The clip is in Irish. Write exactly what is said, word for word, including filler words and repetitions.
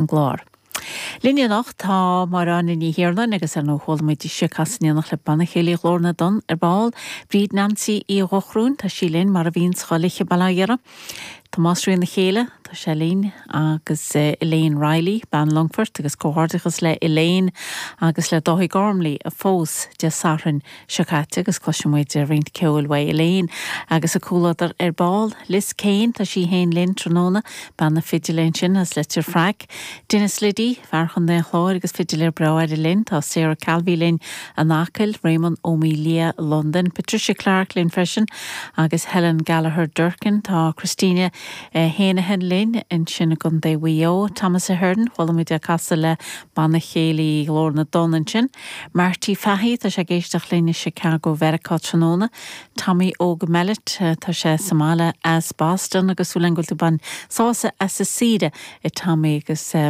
an gclár. Linn anocht tá Máire Áine Ní Thiarnáin agus ar ndóigh chuala muid ise ag casadh in éineacht le Banna Céilí Ghlór na dTonn ar ball, Bríd Nancy Uí Dhochróin, tá sí linn mar a bhíonn chuile oíche bail ó Dhia uirthi. Tomás Rí na Chéile, tá sé linn agus Elaine Riley, bean Longfort agus comhghairdeachas le Elaine agus le Dáithí Gormley a phós Dé Sathairn seo caite agus cloisfidh muid roinnt ceoil uaidh Elaine agus a comhluadar ar ball. Liz Kane, tá sí féin linn tráthnóna, bean na fidile ansin as Leitir Fraic. Dennis Liddy, fear Chontae an Chláir agus fidiléir breá eile linn, tá Sarah Calvey linn in Acaill, Raymond Ó Mília London, Patricia Clark linn freisin agus Helen Gallagher Durkin, tá Christina Heneghan linn ansin i gContae Mhaigh Eo, Thomas Ahern, chuala muid ag casadh le Banna Céilí Ghlór na dTonn ansin. Marty Fahy, tá sé ag éisteacht linn i Chicago Mheiriceá tráthnóna. Tommy Óg Mellett, tá sé sa mbaile as Boston agus súil go bhfuil tú ag baint sásamh as an saoire a Tommy agus